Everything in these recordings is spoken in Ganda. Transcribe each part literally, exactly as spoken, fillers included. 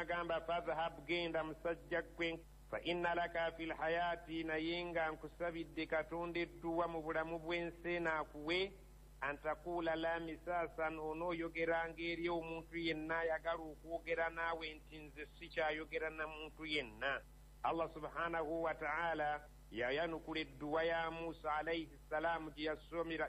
N'agamba, fadhhab, genda musajja ggwe, fa inna laka fi lhayaati, naye nga nkusabidde Katonda edduwa mu bulamu bw'ensi eno akuwe, antakuula la misaasan, onooyogeranga eri omuntu yenna ayagala okwogera naawe nti nze sikyayogera na muntu yenna. Allah subhanahu wa ta'ala yayanukula edduwa ya Musa alaihi ssalaamu gye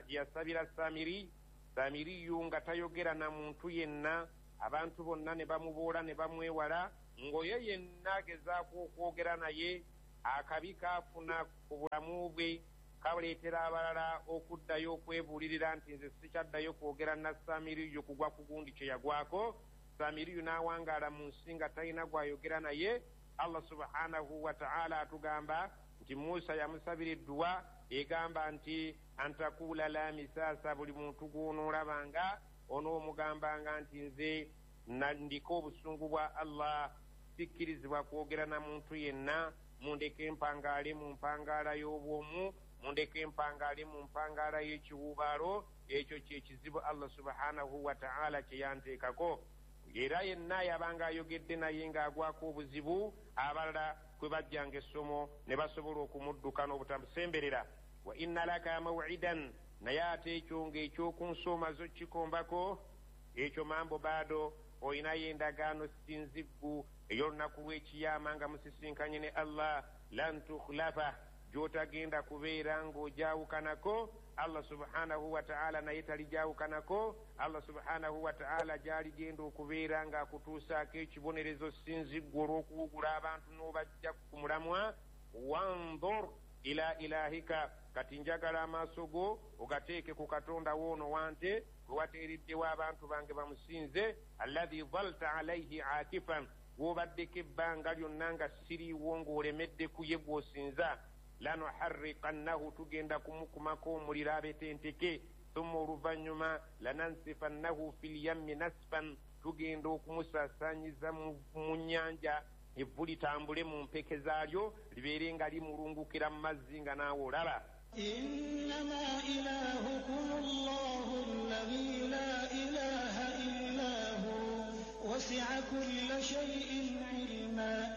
yasabira Samiri. Samiriyu nga tayogera na muntu yenna, abantu bonna ne bamuboola ne bamwewala, ng'oyo yenna agezaako okwogera naye akabi kaafuna ku bulamu bwe kaleetera abalala okuddayo okwebuulirira nti nze sikyaddayo kwogera na Samiriyu kugwa ku gundi kye yagwako. Samiriyu n'awangaala mu nsi nga talina gw'ayogera naye. Allah subhanahu wa ta'ala atugamba nti Musa yamusabira edduwa egamba nti antakuula la misaasa, buli muntu gw'onoolabanga onoomugambanga nti nze ndiko obusungu bwa Allah, sikkirizibwa kwogera na muntu yenna, mundeke mpangaale mu mpangaala y'obwomu, mundeke mpangaale mu mpangaala y'ekiwuubaalo. Ekyo kye kizibu Allah subhanahu wa ta'ala kye yanteekako. Era yenna yabanga ayogedde naye ng'agwako obuzibu, abalala kwe bajjanga essomo ne basobola okumudduka n'obutamusemberera. Wa inna laka maw'idan, naye ate ekyo ng'ekyokunsoma zo kikombako ekyo mambo baado, olinayo endagaano sinziggu ey'olunaku lw'ekiyama nga musisinkanye ne Allah, lan tukhlafa, gy'otagenda kubeera ng'ogyawukanako. Allah subhanahu wa ta'ala naye talijawukanako. Allah subhanahu wa ta'ala gy'aligenda okubeera ng'akutuusaako ekibonerezo sinziggu olw'okuwugula abantu n'obajja ku mulamwa. Wandhur ila ilahika, kati njagala amaaso go ogateeke ku Katonda woono wante gwe wateereddewo abantu bange bamusinze, alladhi dhalta alaihi akifan, gw'obaddeko ebbanga lyonna nga siriiwo ng'olemedde ku ye gw'osinza. Lanuharriqannahu, tugenda kumukumako omuliro abetenteke, thumma oluvannyuma lanansifannahu fil yammi nasfan, tugenda okumusaasaanyiza mu nnyanja, evvu litambule mu mpeke zaalyo libeere nga limulungukira mu mazzi nga naawe olaba. Innama ilahukum Allahu alladhi la ilaha illa hu wasi'a kulla shay'in ilma.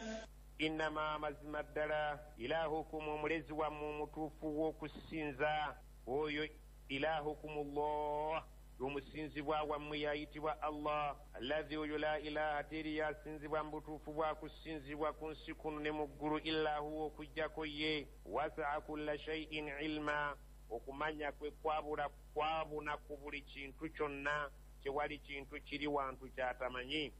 Innama, mazima ddala, ilahukum, omulezi wammwe omutuufu w'okusinza, oyo ilahukum Allah, omusinzibwa wammwe yayitibwa Allah, alladhi oyo la ilaha, teri yasinzibwa mu butuufu bwa kusinzibwa ku nsi kuno ne mu ggulu, illa huwa, okuggyako ye. Wasaa kulla shay'in ilma, okumanya kwe kwabula kwabuna ku buli kintu kyonna, tewali kintu kiri wantu kyatamanyi.